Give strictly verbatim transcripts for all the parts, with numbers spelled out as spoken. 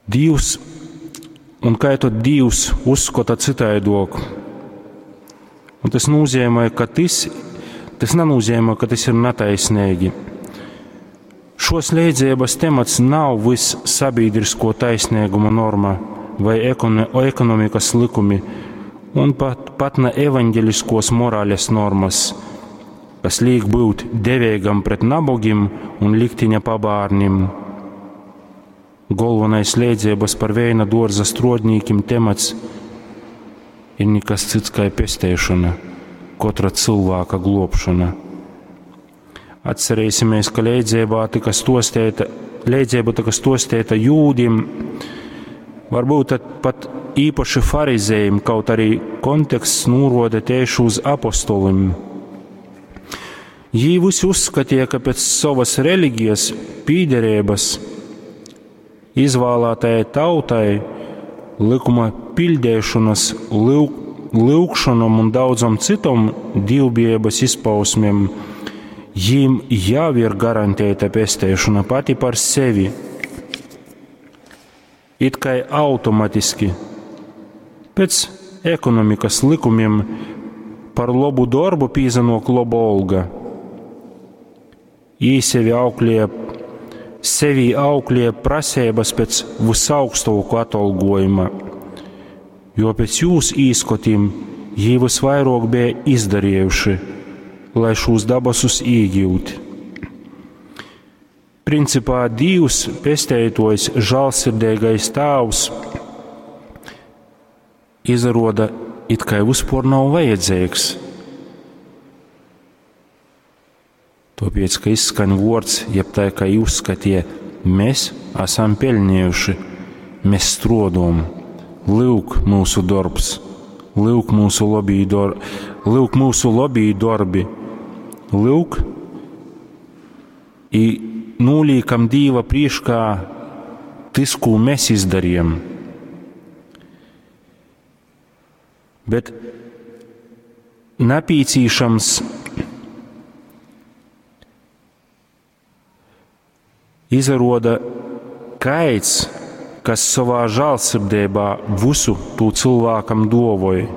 Dīvs, un kai tad Dīvs uzskota cytaidok? Un tas nozīmē, ka tas, tas nenozīmē, ka tas ir netaisnīgi. Šos leidzības temats nav viss sabiedrisko taisnīguma norma vai ekonomikas likumi, un pat, pat ne evaņģeliskos morāles normas, kas liek būt devēgam pret nabogim un liktiņa pabārnim. Galvenais leidzības par vēna dārza strodnīkim temats ir nekas cits kā pestēšana, katra cilvēka globšana. Atcerēsimies, ka leidzībā tika stostēta, leidzība tika stostēta jūdim, varbūt pat īpaši farizējiem, kaut arī konteksts nūroda tieši uz apostolim. Jī visi uzskatīja, ka pēc savas reliģijas pīderības izvēlētajai tautai likuma pildīšanas, lūg, lūgšanom un daudzom citom dievbijības izpausmēm jīm jau ir garantēta pestēšana pati par sevi. It kā automatiski pēc ekonomikas likumiem par labu darbu pīzanok laba olga. Jī sevi auklēja, sevi auklēja prasības pēc visaugstāko atalgojuma, jo pēc jūs īskotim jī visvairāk bija izdarījuši, lai šos dabasus īgūt. Principā Dievs, pesteitojs, žālsirdīgais Tēvs, izaroda it kā vispār nav vajadzīgs. Tāpēc, ka izskan vārds, jeb tā kā uzskatie, mēs esam pelnījuši, mēs strodom, lūk mūsu darbs, lūk mūsu labī dor, lūk mūsu labī darbi, lūk, i nūlīkam Dīva priekšā tas, ko mēs izdarījām. Bet napīcīšams izaroda kaids, kas savā žālsirdībā visu tū cilvēkam dovoja.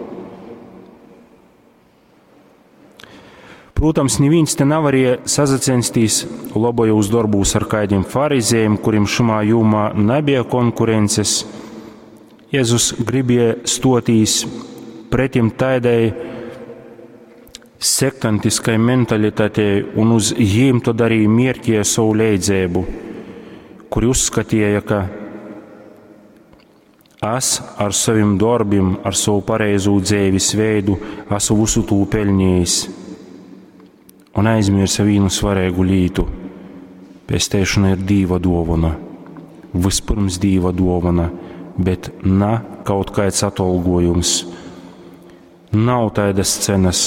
Protams, neviens te nevarēja sazacensties labajos darbūs ar kādiem farizējiem, kuriem šimā jomā nebija konkurences. Jēzus gribēja stotīs pretim tādai sektantiskai mentalitātei un uz jīm tad arī mierķēja savu leidzēbu, kuri uzskatīja, ka es ar saviem darbiem, ar savu pareizo dzīves veidu esmu visu tū pelnījis. Un aizmirsa vienu svarīgu lietu. Pestēšana ir Dīva dāvana. Vispirms Dīva dāvana, bet ne kaut kāds atalgojums. Nav tādas cenas,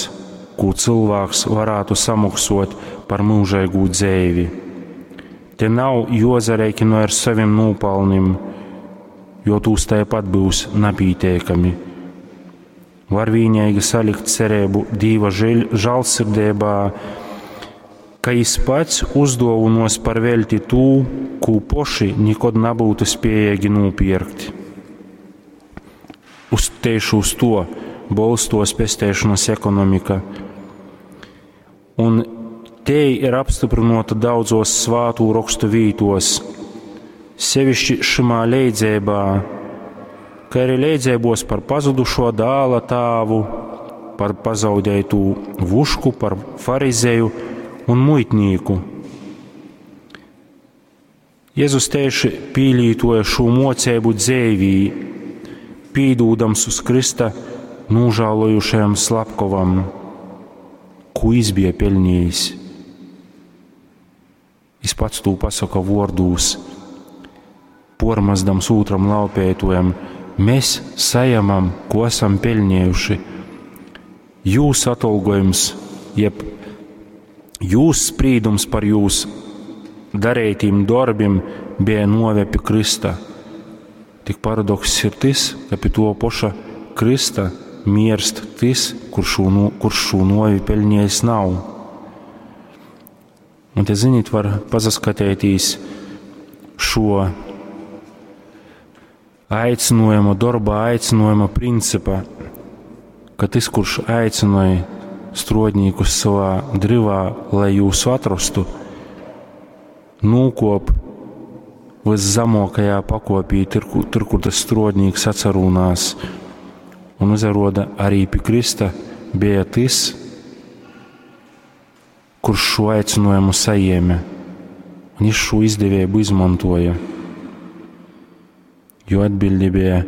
ko cilvēks varētu samaksot par mūžīgu dzīvi. Te nav jozarēkino ar saviem nopelniem, jo tūs tāpat būs napītiekami. Var vienīgi salikt cerību Dīva žēlsirdībā, ka jis pats uzdāvinos par velti tū, ko poši nekad nebūtu spējīgi nopirkt. Uz tieši uz to bolstos pestēšanas ekonomika. Un te ir apstiprināta daudzos svātu rakstu vītos, sevišķi šimā leidzībā, kā arī leidzībos par pazudušo dāla tāvu, par pazaudētu vušku, par farizēju un muitnīku. Jēzus tieši pīlītoja šo mocību dzēvī, pīdūdams uz Krista nožēlojušajam slepkavam, ko jis bija pelnījis. Jis pats tū pasaka vārdūs, pormazdams otram laupētojam, mēs sajamam, ko esam pelnījuši. Jūs atalgojums, jeb jūs sprīdums par jūs darītiem darbiem bija nove pie Krista. Tik paradoks ir tas, ka pie to paša Krista mirst tas, kurš šo, no, kurš šo novi pelnījis nav. Un te, ziniet, var pasaskatētīs šo, aicinājuma, dorba aicinājuma principa, ka tas, kurš aicināja strodnīkus savā drivā, lai jūsu atrastu, nūkop viszemākajā pakopī, tur, tur, kur tas strodnīks atcerūnās, un uzaroda arī pie Krista bija tas, kurš šo aicinājumu saņēma, un viņš šo izdevību izmantoja. Jo atbildi bija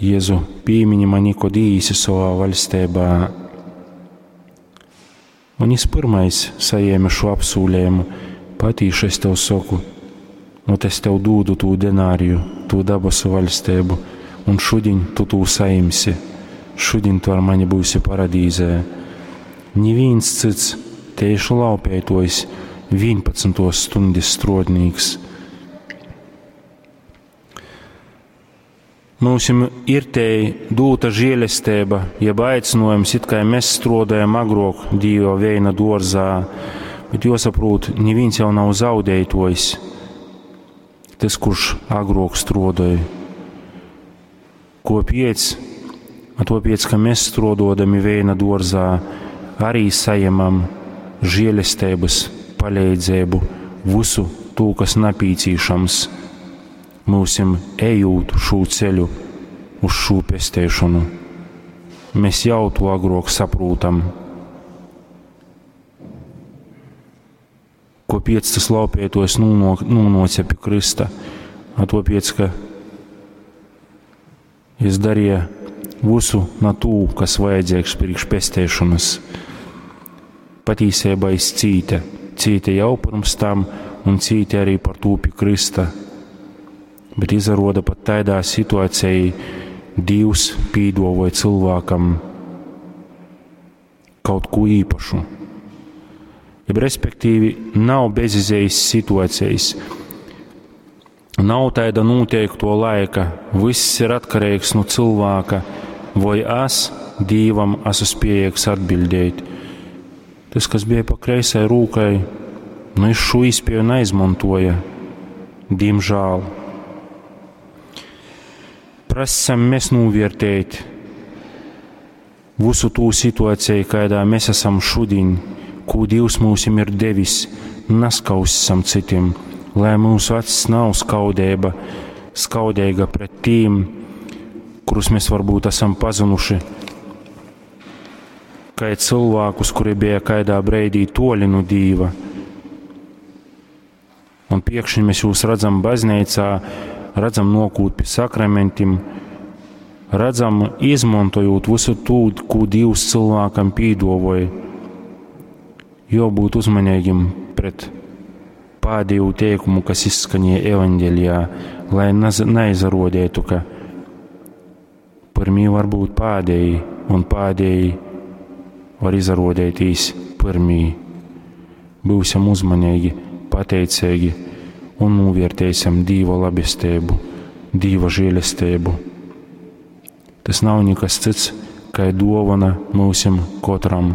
Jēzu pīmiņi mani, kod īsi savā valstībā. Un viņš pirmais saņēma šo apsūlējumu, patīši es tev saku, nu es tev dūdu tū denāriju, tū dabasu valstību, un šodien tu tū saimsi, šodien tu ar mani būsi paradīzē. Neviens cits tieši laupētojs, vienpadsmitos stundas strodnīgs. Mums ir te dūta žēlestība, jeb aicinājums, it kā mēs strādājam agrāk Dieva veina dārzā, bet jāsaprot, neviens jau nav zaudētojs, tas, kurš agrāk strādāja. Kopiec, a topiec, ka mēs strādodami veina dārzā, arī saņemam žēlestības palīdzību, visu to, kas napīcīšams mūsim ejot šo ceļu uz šo pestēšanu. Mēs jau to agrāk saprotam. Kopiec tas laupētos nūnoca pie Krista, a topiec, ka es darīju visu na tū, kas vajadzīgs priekš pestēšanas. Patīsībā es cīte, cīte jau pirms tam un cīte arī par tū pie Krista. Bet izaroda pat tādā situācijā Dievs pīdovoja cilvēkam kaut ko īpašu. Jeb respektīvi nav bezizējas situācijas, nav tāda noteikto laika, viss ir atkarīgs no cilvēka, vai es Dievam esmu spējīgs atbildēt. Tas, kas bija pa kreisai rūkai, nu es šo iespēju neizmantoja, diemžēl. Prasam mēs novērtēt visu tū situāciju, kādā mēs esam šodien, ko Dievs mums ir devis, neskausam citiem, lai mūsu acis nav skaudība, skaudīga pret tiem, kurus mēs varbūt esam pazinuši, kā cilvēkus, kuri bija kādā breidī toļi no Dieva. Un piekšņi mēs jūs redzam baznīcā, redzam nokūt pie sakramentiem, redzam izmantojot visu tū, ko Dievs cilvēkam pīdovoja. Jo būt uzmanīgiem pret pēdējo teikumu, kas izskanēja evaņģēlijā, lai neizrodētu, ka pirmie var būt pēdēji un pēdēji var izrodētīs pirmie. Būsim uzmanīgi, pateicīgi un novērtēsim Dieva labestību, Dieva žēlestību. Tas nav nekas cits, kā dāvana mūsim katram.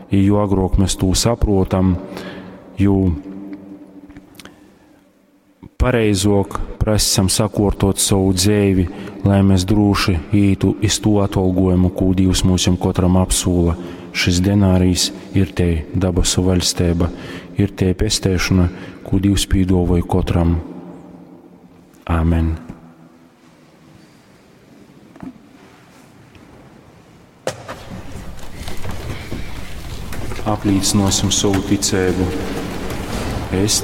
Jo agrāk mēs to saprotam, jo pareizāk prasam sakārtot savu dzīvi, lai mēs droši ītu iz to atalgojumu, ko Dievs mūsim katram apsūla. Šis denārijs ir te dabasu vaļstība, ir te pestēšana, ko Dievs pīdovoja katram. Āmen. Aplīcinosim savu ticību. Es